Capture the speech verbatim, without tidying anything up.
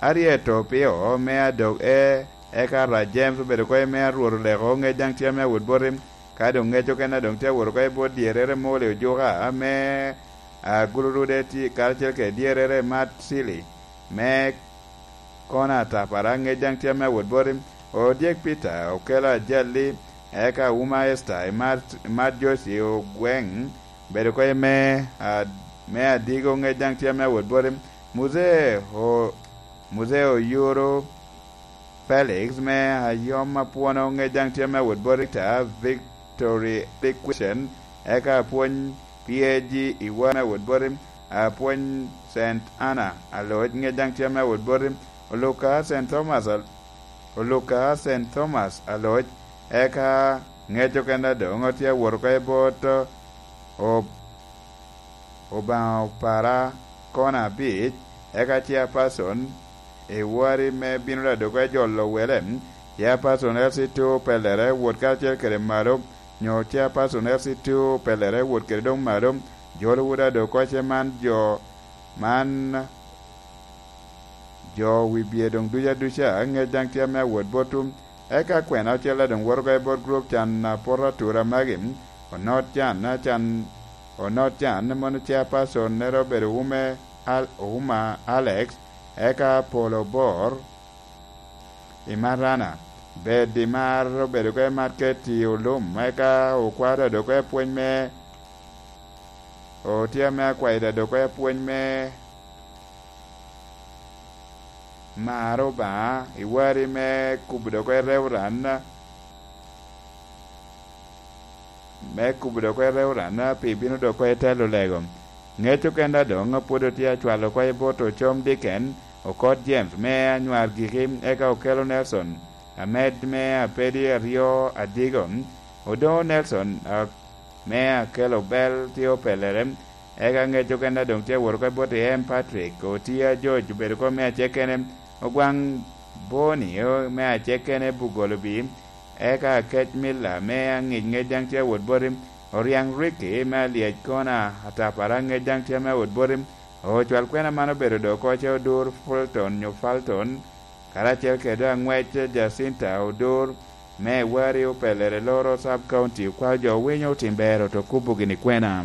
Ariet Opio me Adok E, eka Ra James obedo oko i me Arwot Oleko, ŋec daŋ tye ame awot boti. Ka doŋ ŋec okene doŋ tye awot oko i bot dyerrere Moli Ojuka me Agulurude tye karacel kede dyerrere Mat Cili me Kona Atapara, ŋec daŋ tye ame awot boti. Odyek Peter okelo ajalli, eka Uma Esther i Mat, i Mat Joci Ogweŋ obedo oko i me, a, me Adigo, ŋec daŋ tye ame awot boti. Muzee o, Muzee Oyuro Felix me Ayom Apwono, ŋec daŋ tye ame awot boti. Ta Victory Liquidation, eka apwony P A G Iwa me awot boti. Apwony Saint Anna Aloc, ŋec daŋ tye ame awot boti. Oluka Saint Thomas Al-, Oluka Saint Thomas Aloc, eka ŋec okene doŋ tye awot oko i bot o-, Obaŋa Opara Kona Abic, eka Chairperson i wari me bino Ladok e jolo wele, Chairperson L C two pelere wot karacel kede malo, nyo Chairperson L C two pelere wot kede doŋ malo, jolo wot Ladok oce man jo, man jo wi bye doŋ duc aduca, ŋec daŋ tye ame awot botwu. Eka kwena ocele doŋ woto oko i bot gurup can a poto atura magi, Onot Can, can, Onot Can, mono Chairperson-nere obedo Ume Al-, Ouma Alex, eka Polo Bor i Marana, Bed i Mar obedo oko i Market i Olum, eka Okwaro odoŋ oko i pwony me, otye ame akwayo odoŋ oko i pwony me Mar Obaŋa, i wari me kubo doŋ oko i Reverend, me kubo doŋ oko i Reverend, pi bino doŋ oko i telo lego. Ŋec okene doŋ pwod otye acwalo oko i bot Ocom Diken, Okot James me Anywar Giki, eka Okelo Nelson, Amed me Apedi Aryo Adigo, Odoŋo Nelson, a, me Akelo Bel tye opelere, eka ŋec okene doŋ tye awot oko i bot M Patrick, Otia George obedo oko me acekkene, Ogwaŋ Boni, o, me acekkene Bugolobi, eka Akec Miller me Aŋic ŋec daŋ tye awot boti, Oriaŋ Ricky me Alyec Kona Atapara ŋec daŋ tye ame awot boti, ocwal kwena man obedo doŋ oko ce Odur Fulton nyo Falton, karacel kede aŋwec Jacinta Odur, me Wari opelere loro Sub County, okwao jo winyo otim ber oto kubo gini kwena.